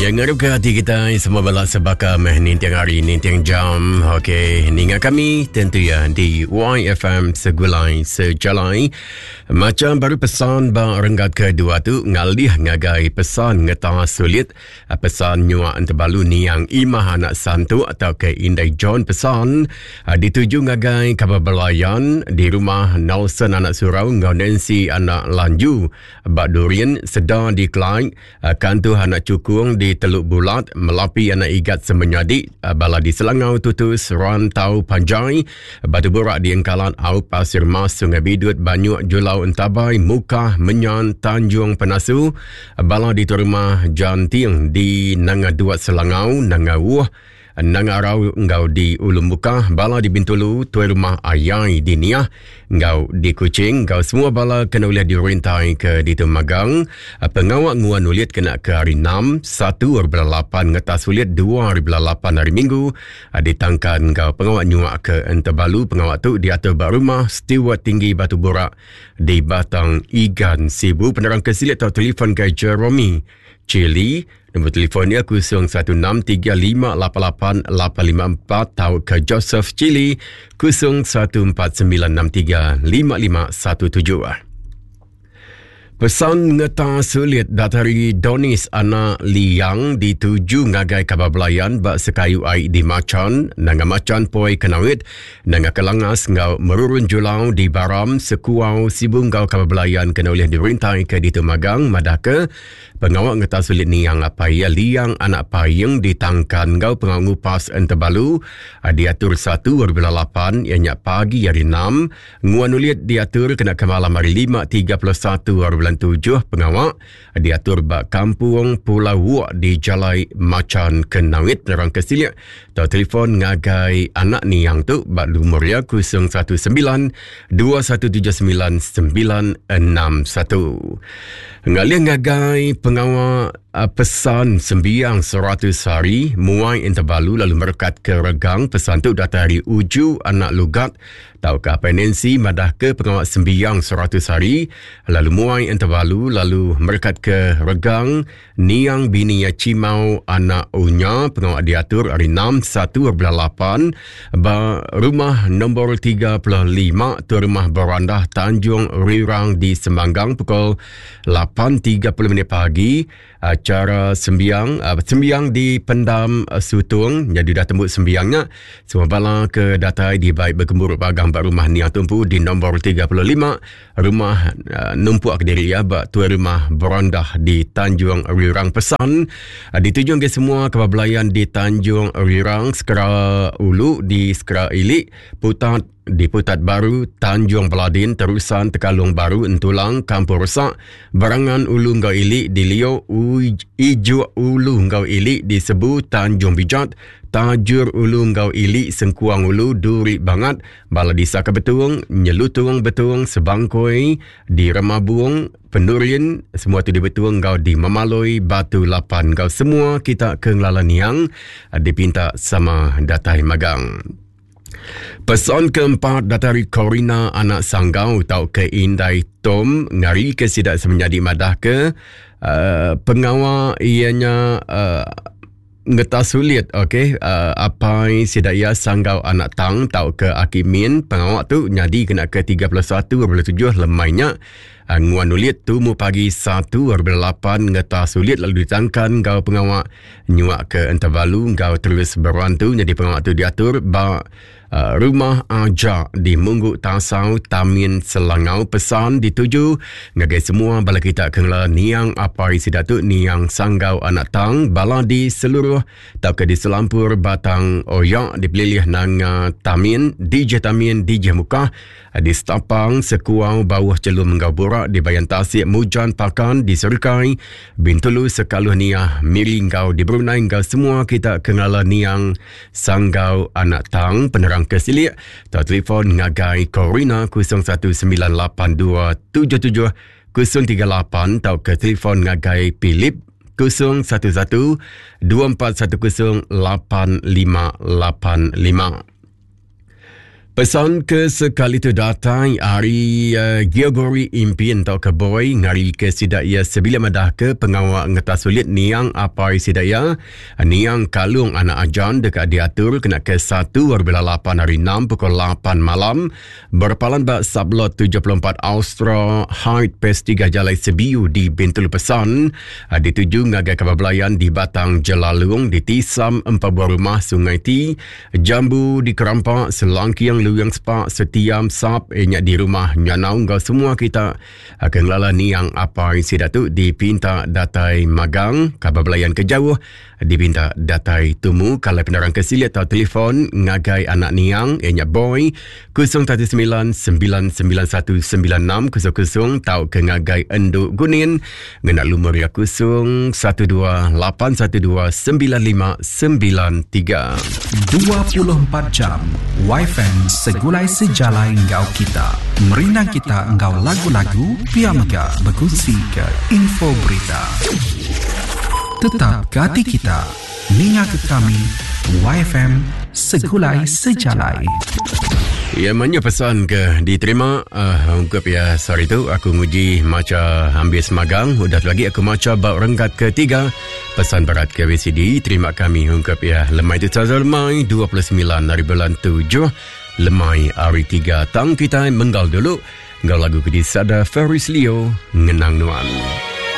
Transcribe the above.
Ya ngarap ke hati kita semua bala sebaka meh ninting hari ninting jam. Okey, ninga kami tentu ya di YFM Segulai Sejalai. Macam baru pesan ba renggat kedua tu ngalih ngagai pesan ngeta sulit pesan nyua entebalu niang Imah anak Santu atau ke Indai John pesan dituju ngagai kaban belayan di rumah Nelson anak Surau enggau Nancy anak Lanju ba Durin Seda di Kelai Kantuh anak Chukung di Teluk Bulat Melapi anak Igat Semenyadi bala di Selangau Tutus Rantau Panjai Batu Burak di Engkalat Aup Pasir Mas Sungai Bidut Banyuk Julau Entabai Mukah Menyan Tanjung Penasu bala di Rumah Janting di Nanga Duat Selangau Nanga Wuh Nanga Arau enggau di Ulu Mukah, bala di Bintulu, Tuai Rumah Ayai di Niah enggau di Kuching enggau semua bala kena ulih dirintai ke ditu magang. Pengawa nguan ulit kena ke hari 6, 1 hari bulan 8 ngetas ulit 2 hari bulan 8 hari Minggu ditangkan enggau pengawa nyuak ke Entebalu. Pengawa tu diatur ba Rumah Steward Tinggi Batu Burak di Batang Igan, Sibu. Penerang ke silik tau telefon ke Jeremy Chili Nombor telefon iya 0163588854 tauka Joseph Chili 0149635517. Pesan ngeta sulit datari Donis anak Liang dituju ngagai kaban belayan ba sekayu ai di Machan, Nanga Machan Poi Kenawit, Nanga Kelangas enggau Merurun Julau di Baram, Sekuau, Sibu enggau kaban belayan kena ulih dirintai ke ditu magang madahka Pengawa ngetas sulit niang apai iya Liang anak Paing ditangkan enggau pengawa ngupas Entebalu diatur satu ari bulan lapan iya nya pagi hari enam. Nguan ulit diatur kena ke malam hari lima 31 ari bulan tujuh pengawa diatur ba Kampung Pulau Wok di Jalai Machan Kenawit. Penerang ke silik tau telefon ngagai anak niang tu ba lumur iya 019 2179 961. Ngalih ngagai pengawa uh, pesan sembiang 100 hari muai Entebalu lalu merekat ke regang pesan tu datai ari Uju anak Lugat tauka Apai Nancy madah ke pengawa sembiang 100 hari lalu muai Entebalu lalu merekat ke regang Niang bini iya Chimau anak Unya pengawa diatur hari 6 1 bulan 8 ba rumah nombor 35 tu rumah berandah Tanjung Rirang di Semanggang pukul 8.30 minit pagi. Acara sembiang eh, sembiang di Pendam eh, Sutung jadi dah tembuk sembiangnya semua bala ke datai di baik bergemburu bagang ba rumah Niang Tumpu di nombor 35 Rumah uh, numpuk ke diri ya ba tuai rumah Berandah di Tanjung Rirang pesan uh, ditujung ke semua kaban belayan di Tanjung Rirang Sekera Ulu di Sekera Ili Putat di Putat Baru Tanjung Beladin Terusan Tekalung Baru Entulang Kampung Resak Berangan Ulu enggau Ili di Lio Ijuk Ulu enggau Ili di Sebu Tanjung Bijat Tajur Ulu enggau Ili Sengkuang Ulu Duri Bangat Bala disa ke Betung, Nyelutung Betung, Sebangkoi, di Remabung, Penurin, semua tu di Betung enggau di Memaloi, Batu Lapan enggau semua kita ke ngelala niang dipinta sama datai magang. Pesan keempat datai ari Corina anak Sanggau tauka Indai Tom ngari ke sida semenyadi madah ke uh, pengawa iya nya uh, Ngeta sulit ok uh, apai sida iya Sanggau anak Tang tauka Aki Min pengawa tu nyadi kena ke 31 bulan 7 lemai nya uh, nguan ulit tumu pagi 1 bulan 8 ngeta sulit lalu ditangkan enggau pengawa nyuak ke Entebalu enggau terus berantu nyadi pengawa tu diatur ba Uh, rumah Aja di Munggu Tasau Tamin Selangau pesan dituju ngagai semua bala kita ke ngelala niang apai sida tu niang Sanggau anak Tang bala di seluruh tauka di selampur Batang Oya di pelilih Nanga Tamin DJ Tamin DJ Mukah di Stapang Sekuau Bauh Chelum enggau Burak di Bayan Tasik Mujan Pakan di Serikai Bintulu Sekaluh Niah Miri enggau di Brunei enggau semua kita ke ngelala niang Sanggau Anak Tang penerang ke silik tau telefon ngagai Corina 0198277038 tauka telefon ngagai Philip 011 2410 8585. Pesan ke sekali tu datai ari uh, Geogori Impin tauka Boy ngari ke sida iya sebilik madah ke pengawa ngetas ulit niang apai sida iya niang Kalung Anak Ajan deka diatur kena ke 1 hari bulan 8 hari 6 pukul 8 malam berpalan ba Sublot 74 Austra Height Pes 3 Jalai Sebiu di Bintulu Pesan uh, dituju ngagai kaban belayan di Batang Jelalung di Tisam empat buah rumah Sungai Ti Jambu di Kerampak, Selangking, Luyang Sepak, Setiam, Sap, eh, nya di rumah Nyanau enggau semua kita ke ngelala niang apai sida tu dipinta datai magang kaban belayan ke jauh dipinta datai tumu kalai penerang ke silik atau telefon ngagai anak niang iya nya Boy 019 991 96 00 tau ke ngagai Endu Gunin ngena lumur iya 012 812 9593. 24 jam WiFM segulai sejalai enggau kita. Merindang kita enggau lagu-lagu pia mega bekunsi ke info berita. Tetap ke ati kita ninga ke kami WiFM segulai sejalai. Ya mayuh pesan ke diterima uh, ungkup ya sehari tu aku nguji macha ambis magang udah tu lagi aku macha ba renggat ketiga pesan berat ke VCD terima kami ungkup ya lemai tu saja lemai 29 hari bulan 7 lemai hari 3 tang kita menggal dulu enggau lagu ke disada Ferris Leo ngenang nuan.